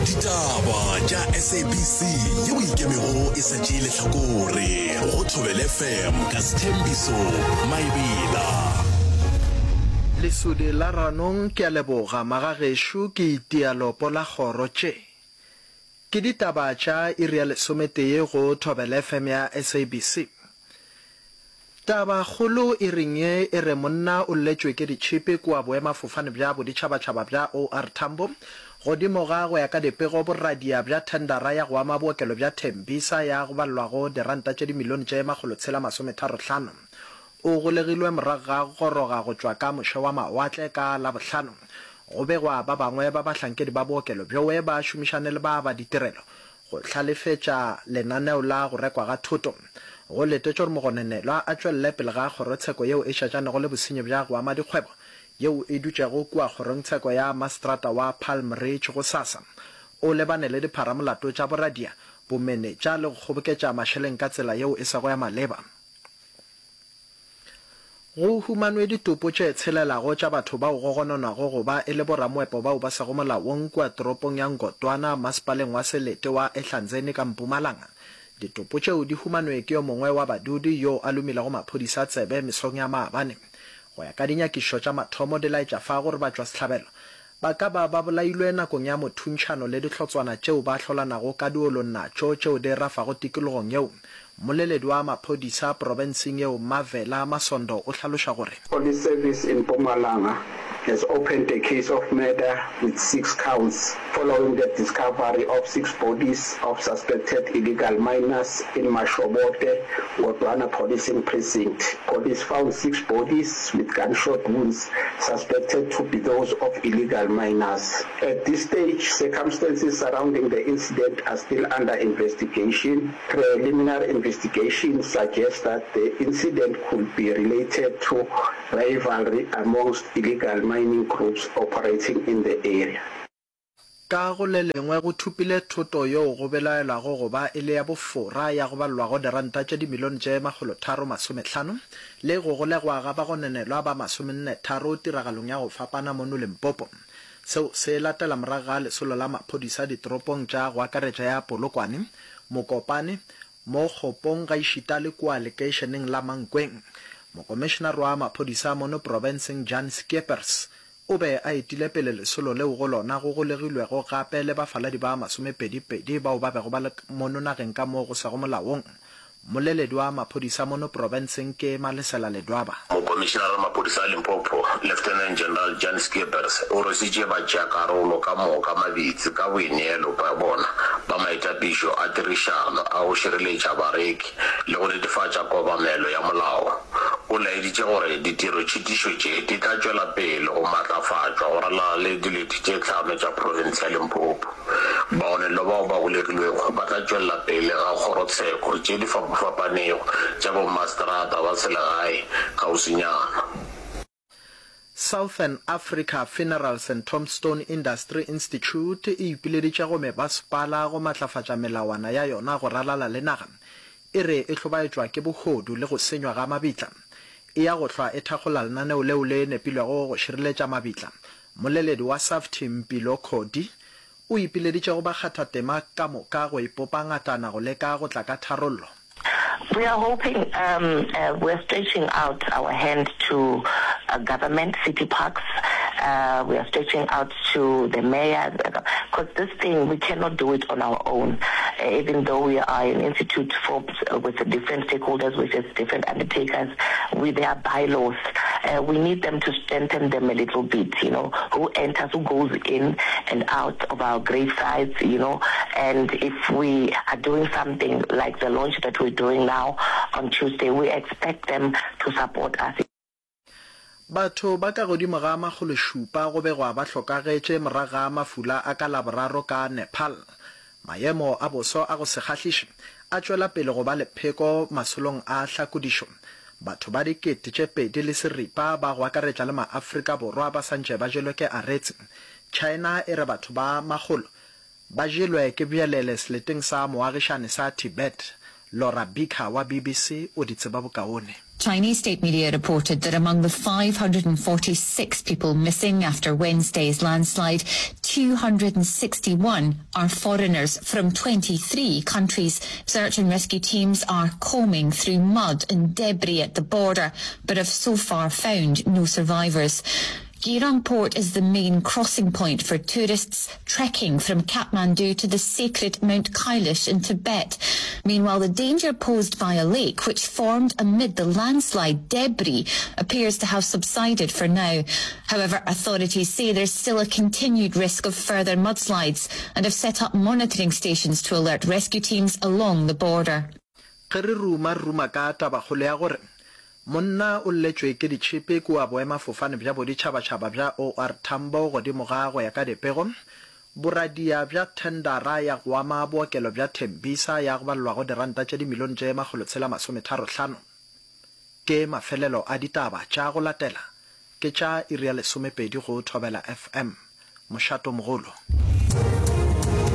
Ditaba tša SABC yeo e ikemego e sa tšee lehlakore go Thobela FM ka Sthembiso Maebela. Lesodi la Ranong ke a leboga magagešo ke itia lopo la kgoro tše ke ditaba tša iri ya lesometee go Thobela FM ya SABC. Taba kgolo e reng ye e re monna o lletšwe ke ditšhipi kua boemafofane bja boditšhabatšhaba bja OR Tambo godimo ga go ya ka dipego boradia bja thendara ya go ama bookelo bja Tembisa ya go balelwago diranta tše dimilione tše makgolotshela masometharohlano. O golegilwe morago ga go goroga go tšwa ka moše wa mawatle ka Labohlano. Go begwa ba bangwe ba bahlankedi ba bookelo bjowe ba šomišane le ba ba ditirelo Go hlalefetša lenaneo la go rekwa ga thoto. Go letetšwe gore mogononelwa a tšwelele pele ga kgorotsheko yeo e šetšanego le bosenyi bja go ama dikgwebo yeo e dutšego kua kgorongtsheko ya maseterata wa Palm Ridge gosasa. O lebane le dipharamolato tša boradia, bomenetša le go kgoboketša mašeleng ka tsela yeo e sego ya maleba. Go humanwe ditopo tše tshelelago tša batho bao go gononwago go ba e le boramoepo bao ba sego molaong kua toropong ya Ngotwana, masepaleng wa selete wa Ehlanzeni ka Mpumalanga. Ditopo tšeo di humanwe ke yo mongwe wa badudi yo a lomilego maphodisa tsebe mesong ya maabane. Go ya ka dinyakišišo tša mathomo di laetša fa gore batšwasehlabelo Ba ka ba ba bolailwe nakong ya mothuntšhano le dihlotswana tšeo ba hlolanago ka diolong natšo tšeo di rafago tikologong yeo. Mmoleledi wa maphodisa profenseng yeo Mavela Masondo o hlaloša gore. Police Service in Mpumalanga has opened a case of murder with six counts following the discovery of six bodies of suspected illegal miners in Mashobote, Ngodwana Policing Precinct. Police found six bodies with gunshot wounds suspected to be those of illegal miners. At this stage, circumstances surrounding the incident are still under investigation. Preliminary investigation suggests that the incident could be related to rivalry amongst illegal mining groups operating in the area. Ka go le lengwe, go thupile thoto yeo go belaelwago go ba e le ya bofora ya go balelwago diranta tše dimilione tše makgolotharo-masomehlano le go golegwa ga bagononelwa ba masomennetharo tiragalong ya go fapana mono Limpopo. Seo se latela morago ga lesolo la maphodisa ditoropong tša go akaretša ya Polokwane, Mokopane, Mokgopong gaešita le kua lekeišeneng la Mankweng. Mokomišenare wa maphodisa mono profenseng Jan Scheepers O be a etile pele lesolo leo go lona go golegilwego gape le bafaladi ba masomepedi-pedi bao ba bego ba le mono nageng ka mo go sego molaong. Mmoleledi wa maphodisa mono profenseng ke Malesela Ledwaba. Mokomišenare wa maphodisa a Limpopo, Lieutenant General Jan Scheepers, o rwesitše batšeakarolo ka moka mabitsi ka boineelo bja bona ba maitapišo a tirišano a go šireletša bareki le go netefatša kobamelo ya molao. O laeditše gore ditirotšhitišo tše di tla tšwela pele go maatlafatšwa go ralala le dilete tše tlhano tša profense ya Limpopo. Baonelwa bao ba golegilwego ba tla tšwelela pele ga kgorotsheko tše di fapafapanego tša bommaseterata ba selegae kgauswinyana. Southern Africa Funerals and Tombstone Industry Institute e ipileditše go mebasepala go matlafatša melawana ya yona go ralala le naga. E re e hlobaetšwa ke bohodu le go senywa ga mabitla. E ya go hlwa e thakgola lenaneo leo le nepilwego go šireletša mabitla. Mmoleledi wa SAFTI Mpilo Khodi o ipileditše go bakgathatema ka moka go ipopa ngatana go leka go tla ka tharollo. We are hoping, um, uh, we are stretching out our hand to uh, government, city parks. Uh, we are stretching out to the mayor, because this thing, we cannot do it on our own. Uh, even though we are an institute formed uh, with different stakeholders, which is different undertakers, with their bylaws, uh, we need them to strengthen them a little bit, you know, who enters, who goes in and out of our grave sites, you know, and if we are doing something like the launch that we're doing now on Tuesday, we expect them to support us. Batho ba ka godimo ga makgološupa go begwa ba hlokagetše morago ga mafula a ka Laboraro ka Nepal. Maemo a boso a go se kgahliše a tšwela pele go ba lepheko masolong a hlakodišo. Batho ba 2006 ba go akaretša le maAfrika Borwa ba santše ba jelwe ke aretse. China e re batho ba makgolo ba jelwe ke bjelele seleteng sa moagišane sa Tibet. Laura Bicker wa BBC o di tseba bokaone. Chinese state media reported that among the 546 people missing after Wednesday's landslide, 261 are foreigners from 23 countries. Search and rescue teams are combing through mud and debris at the border, but have so far found no survivors. Girang Port is the main crossing point for tourists trekking from Kathmandu to the sacred Mount Kailash in Tibet. Meanwhile, the danger posed by a lake which formed amid the landslide debris appears to have subsided for now. However, authorities say there's still a continued risk of further mudslides and have set up monitoring stations to alert rescue teams along the border. Ge re ruma, re ruma ka tabakgolo ya gore monna o lletšwe ke ditšhipi kua boemafofane bja boditšhabatšhaba bja OR Tambo godimo ga go ya ka dipego, boradia bja thendara ya go ama bookelo bja Tembisa ya go balelwago diranta tše dimilione tše makgolotshela-masometharohlano. Ke mafelelo a ditaba tša go latela ke tša iri ya lesomepedi go Thobela FM. Mošatomogolo.